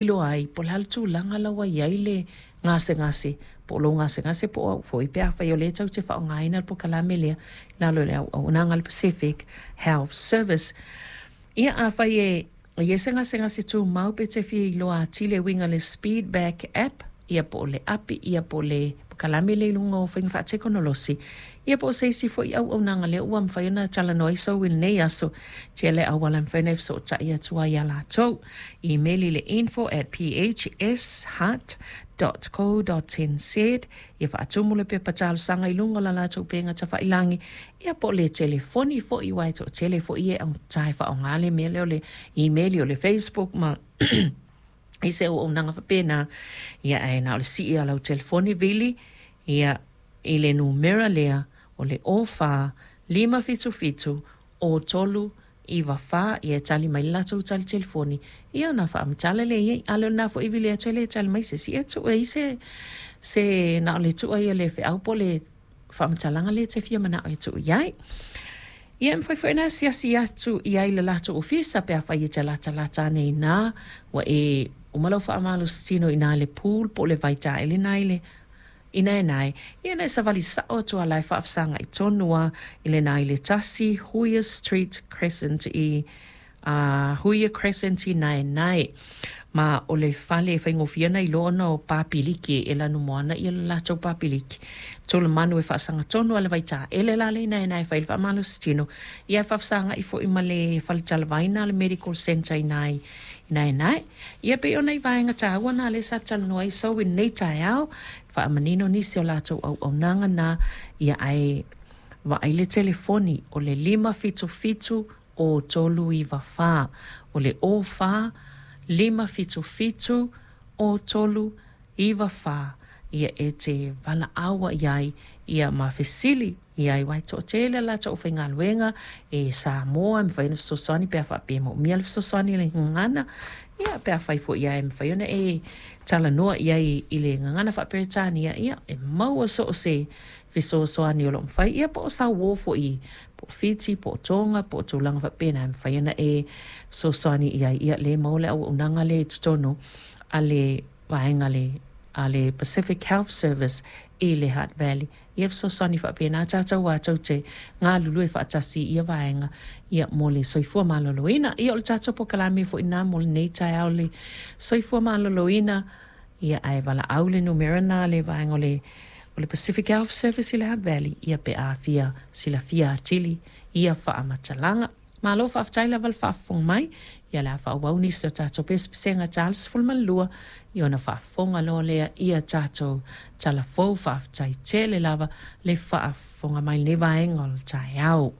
Iloa ai po o le a le tulaga la ua i ai le gasegase po o lou gasegase po o au foi pe afai o lea tou te faaaogaina le polokalame lea i lalo o le auaunaga a le Pacific Health Service. Ia afai e i ai se gasegase tumau pe te fia iloa atili e uiga i le Speedback app ia po o le api ia po o le polokalame lea i luga o faiga faatekonolosi ia po o se isi foi auaunaga lea ua mafai ona talanoa ai sou i lenei aso tele auala e mafai ona e fesootai atu ai ia latou. Imeli i le info@phsheart.co.nz ia faatumu le pepa talosaga i luga o la latou upega tafailagi ia po o le telefoni foi aua e toatele foi e augata e faaaoga le mea lea o le imeli o le Facebook ma i se auaunaga faapena ia ae na o le sii lava o lau telefoni vili ia i le numera lea o le 04 577 03 94 ia e tali mai le latou tali telefoni ia ona faamatala lea i ai. A le o lena foi e vili atu e le tali mai se isi, ia tuu ai se se na o le tuu ai o le feau po o le faamatalaga lea e te fia manao e tuu i ai. Ia e mafai foi ona asiasi atu i ai i le latou ofisa pe afai e te latalata ane i ina ua e uma lau faamalositino i ina i le pool po o le vai taele lena i le i Naenae, ia na e savali sao atu lava la e faafesagai tonu lava i le na i le 1 Huia Street Crescent i Huia Crescent i Naenae. Ma o le fale e faigofie ona iloa ona o papiliki e lanumoana ia le latou papiliki. Tulamanu e faasaga tonu lava i le vaitaele la lea i Naenae e fai ai le faamalositino, ia e faafesagai foi ma le fale talavaina le Medical Centre i ina i Naenae. Ia pei o nai vaega taua na lea sa talanoa ai sou i lenei taeao, faamanino nisi o latou auaunaga na, ia ae vaai le telefoni o le 577 o 394. O le 04 577 o 394 ia e te valaau ai i ai ia ma fesili i ai aua e toatele a latou aufaigaluega e Samoa e mafai ona fesoasoani pe a faapea e moomia le fesoasoani i le gagana ia pe afai foi lava e mafai ona e talanoa i ai i le gagana faa-Peretania ia e maua so o se fesoasoani o lo o mafai ia po o sau uō foi po o Fiti po o Toga po o tulaga faapena e mafai ona e fesoasoani i ai ia lea e maua le auaunaga lea i totonu a le vaega a le Pacific Health Service i le Hutt Valley. Ia fesoasoani faapena tatou aua tou te galulue faatasi i ia vaega ia mo le soifua maloloina. Ia o le tatou polokalame foi lena mo lenei taeao le soifua maloloina ia ae valaau le numera lena a le vaega o le o le Pacific Health Service i le Hutt Valley ia pe a fia silafia atili ia faamatalaga. Malo faafetai lava le faafofoga mai, ia le a faaauau nisi o tatou pesepesega tala 12 ia ona faafofoga loa lea ia tatou tala fou. Faafetai tele lava le faafofoga mai i lenei vaega o le taeao.